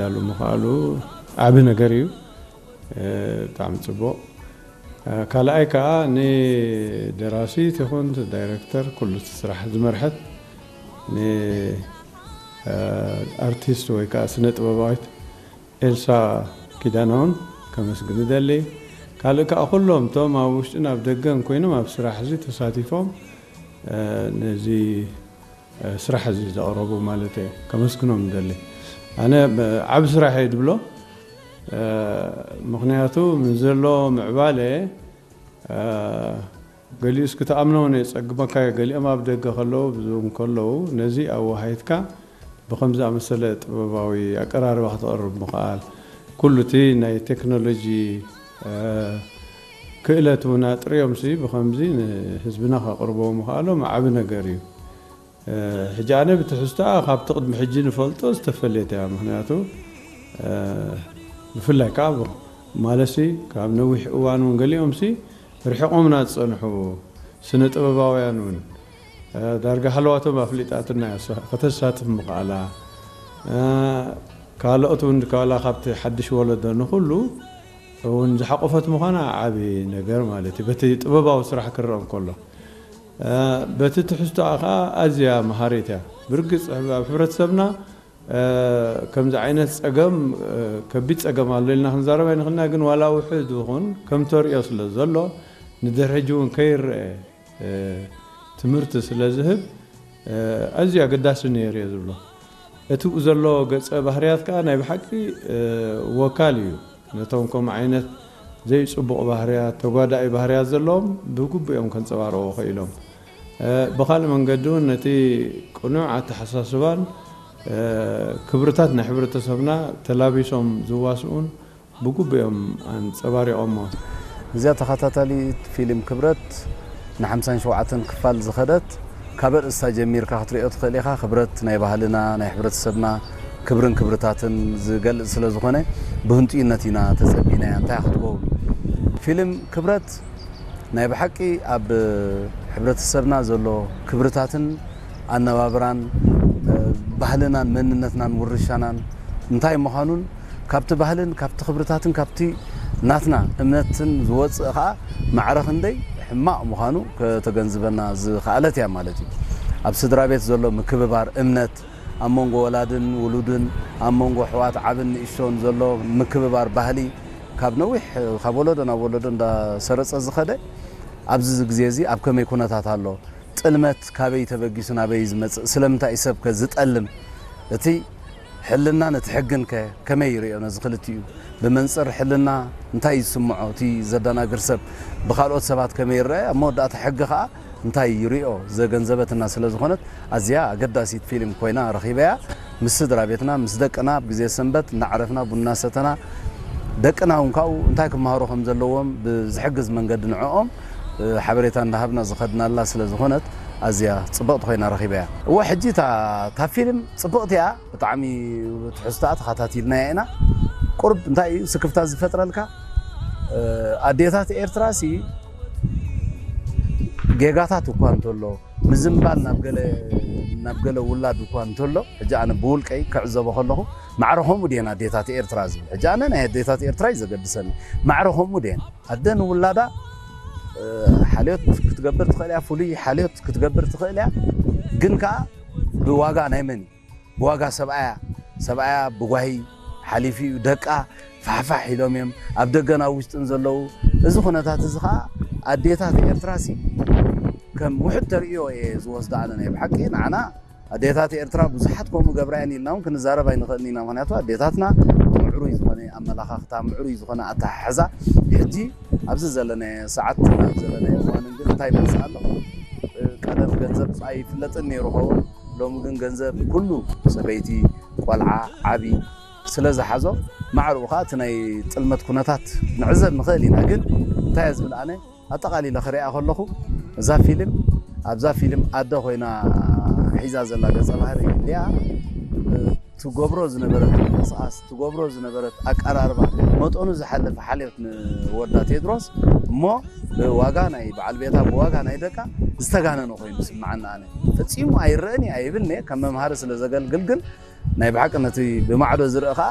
ዳሉ ምኽኣሉ ዓቢ ነገር እዩ። ብጣዕሚ ጽቡቕ። ካልኣይ ከኣ ንደራሲት ይኹን ዳይረክተር፣ ኩሉ እቲ ስራሕ ዝመርሐት ንኣርቲስት ወይ ከኣ ስነ ጥበባዊት ኤልሳ ኪዳነ እውን ከመስግን እደሊ። ካልእ ከኣ ኩሎም እቶም ኣብ ውሽጥን ኣብ ደገን ኮይኖም ኣብ ስራሕ እዚ ተሳቲፎም ነዚ ስራሕ እዚ ዘቕረቡ ማለት እየ ከመስግኖም እደሊ። ኣነ ዓብ ስራሕ እየ ድብሎ። ምኽንያቱ ምስ ዘሎ ምዕባለ ገሊኡ እስኪ ተኣምኖ እውን የጸግመካ እዩ። ገሊኦም ኣብ ደገ ከለዉ ብዙ ከለዉ ነዚ ኣወሃሂድካ ብኸምዚ ኣመሰለ ጥበባዊ ኣቀራርባ ክተቕርብ ምኽኣል፣ ኩሉ እቲ ናይ ቴክኖሎጂ ክእለት እውን ኣጥርዮምሲ ብኸምዚ ንህዝብና ከቕርቦ ምኽኣሎም ዓቢ ነገር እዩ። ሕጂ ኣነ ብትሕዝቶኣ ካብቲ ቅድሚ ሕጂ ንፈልጦ ዝተፈለየት እያ። ምኽንያቱ ብፍላይ ከዓ ማለሲ ካብ ነዊሕ እዋን እውን ገሊኦምሲ ርሒቖምና ዝጸንሑ ስነ ጥበባውያን እውን ዳርጋ ሃለዋቶም ኣፍሊጣትና እያ። ከተሳትፍ ምኽኣላ ካልኦት እውን ድካላ ካብቲ ሓድሽ ወለዶ ንኹሉ እውን ዝሓቆፈት ምዃና ዓቢ ነገር ማለት እዩ። በቲ ጥበባዊ ስራሕ ክረአ እንከሎ በቲ ትሕዝቶኣ ከዓ ኣዝያ መሃሪት እያ። ብርግጽ ኣብ ሕብረተሰብና ከምዚ ዓይነት ጸገም ከቢድ ጸገም ኣሎ ኢልና ክንዛረብ ኣይንኽእልና፣ ግን ዋላ ውሑድ ይኹን ከም ተርእዮ ስለ ዘሎ ንድሕሪ ሕጂ እውን ከይረአ ትምህርቲ ስለ ዝህብ ኣዝዩ ኣገዳሲ ነይሩ እየ ዝብሎ። እቲ ብኡ ዘሎ ገጸ ባህርያት ከኣ ናይ ብሓቂ ወካል እዩ። ነቶም ከምኡ ዓይነት ዘይጽቡቕ ባህርያት፣ ተጓዳኢ ባህርያት ዘለዎም ብግቡእ እዮም ከንጸባርቑ ክኢሎም። ብኻልእ መንገዲ እውን ነቲ ቅኑዕ ኣተሓሳስባን ክብርታት ናይ ሕብረተሰብና ተላቢሶም ዝዋስኡን ብግቡእ እዮም ኣንጸባሪቖሞ። እዚኣ ተኸታታሊት ፊልም ክብረት ንሓምሳን ሸውዓተን ክፋል ዝኸደት፣ ካብ ኣርእስታ ጀሚርካ ክትሪኦ ትኽእል ኢኻ። ክብረት ናይ ባህልና፣ ናይ ሕብረተሰብና ክብርን ክብርታትን ዝገልጽ ስለ ዝኾነ ብህንጡይነት ኢና ተጸቢናያ። እንታይ ክትከውን ፊልም ክብረት ናይ ብሓቂ ኣብ ሕብረተሰብና ዘሎ ክብርታትን ኣነባብራን ባህልናን መንነትናን ውርሻናን እንታይ ምዃኑን ካብቲ ባህልን ካብቲ ክብርታትን ካብቲ ናትና እምነትን ዝወፅእ ከዓ ማዕረ ክንደይ ሕማቕ ምዃኑ ከተገንዝበና ዝኸኣለት እያ ማለት እዩ። ኣብ ስድራ ቤት ዘሎ ምክብባር፣ እምነት፣ ኣብ መንጎ ወላድን ውሉድን፣ ኣብ መንጎ ኣሕዋት ዓብን ንእሽቶን ዘሎ ምክብባር ባህሊ ካብ ነዊሕ፣ ካብ ወለዶ ናብ ወለዶ እንዳሰረጸ ዝኸደ፣ ኣብዚ ግዜ እዚ ኣብ ከመይ ኩነታት ኣሎ? ጥልመት ካበይ ተበጊሱ ናበይ ዝመጽእ? ስለምንታይ እዩ ሰብከ ዝጠልም? እቲ ሕልናን እቲ ሕግንከ ከመይ ይርእዮ ነዚ ክልቲኡ? ብመንጽር ሕልና እንታይ እዩ ዝስምዖ እቲ ዘደናግር ሰብ? ብኻልኦት ሰባት ከመይ ይረአ? ኣብ መወዳእታ ሕጊ ከኣ እንታይ ይርእዮ ዘገንዘበትና ስለ ዝኾነት ኣዝያ ኣገዳሲት ፊልም ኮይና ረኺበያ። ምስ ስድራ ቤትና፣ ምስ ደቅና ኣብ ግዜ ሰንበት እናዕረፍና ቡና ሰተና፣ ደቅና እውን ካብኡ እንታይ ክመሃሩ ከም ዘለዎም ብዝሕግዝ መንገዲ ንዕኦም ሓበሬታ እንዳሃብና ዝኸድናላ ስለ ዝኾነት ኣዝያ ጽብቕቲ ኮይና ረኺበያ። እወ፣ ሕጂ እታ፣ እታ ፊልም ጽብቕቲ እያ። ብጣዕሚ ትሕዝቶኣ ተኸታቲልናያ ኢና። ቁርብ እንታይ እዩ ስክፍታ ዝፈጥረልካ? ኣዴታት ኤርትራሲ ጌጋታት እኳ እንተሎ፣ ምዝንባል ናብ ገለ፣ ናብ ገለ ውላድ እኳ እንተሎ፣ ሕጂ ኣነ ብውልቀይ ክዕዘቦ ከለኹ፣ ማዕረ ከምኡ ድየን ኣዴታት ኤርትራ ዝብል? ሕጂ ኣነ ናይ ኣዴታት ኤርትራ እዩ ዘገድሰኒ። ማዕረ ከምኡ ድየን? ኣደ ንውላዳ፣ እ፣ ሓልዮት ክትገብር ትኽእል እያ፣ ፍሉይ ሓልዮት ክትገብር ትኽእል እያ። ግን ከኣ ብዋጋ ናይ መን እዩ? ብዋጋ ሰብኣያ። ሰብኣያ ብጓሂ ሓሊፉ እዩ። ደቃ ፋሕፋሕ ኢሎም እዮም ኣብ ደገን ኣብ ውሽጥን ዘለዉ። እዚ ኩነታት እዚ ኸኣ ኣዴታት ኤርትራሲ ከም ውሑድ ተርእዮ እየ ዝወስዶ ኣነ። ናይ ብሓቂ ንዓና ኣዴታት ኤርትራ ብዙሓት ከምኡ ገብራ እየን ኢልና እውን ክንዛረብ ኣይንኽእልን ኢና። ምኽንያቱ ኣዴታትና ምዕሩይ ዝኾነ ኣመላኻኽታ፣ ምዕሩይ ዝኾነ ኣተሓሕዛ፣ ሕጂ ኣብዚ ዘለናዮ ሰዓት፣ ኣብ ዘለናዮ እዋን ግን እንታይ ይመጽእ ኣሎ? ቀደም ገንዘብ ኣይፍለጥን ነይሩ ኸውን። ሎሚ ግን ገንዘብ ኩሉ፣ ሰበይቲ፣ ቆልዓ፣ ዓቢ ስለ ዝሓዞ፣ ማዕረኡ ኸኣ እቲ ናይ ጥልመት ኩነታት ንዕዘብ ንኽእል ኢና። ግን እንታይ እየ ዝብል ኣነ፣ ኣጠቓሊለ ክሪኣ ከለኹ፣ እዛ ፊልም፣ ኣብዛ ፊልም ኣደ ኮይና ሒዛ ዘላ ገጸ ባህሪ ሊያ፣ ትገብሮ ዝነበረት ምንቅስቓስ፣ ትገብሮ ዝነበረት ኣቀራርባ፣ መጠኑ ዝሓለፈ ሓልዮት ንወዳ ቴድሮስ፣ እሞ ብዋጋ ናይ በዓል ቤታ፣ ብዋጋ ናይ ደቃ ዝተጋነነ ኮይኑ ይስምዓኒ ኣነ። ፈጺሙ ኣይረኣን እየ ኣይብልን እየ፣ ከም መምሃሪ ስለ ዘገልግል ግን፣ ናይ ብሓቂ ነቲ ብማዕዶ ዝረአ ኸኣ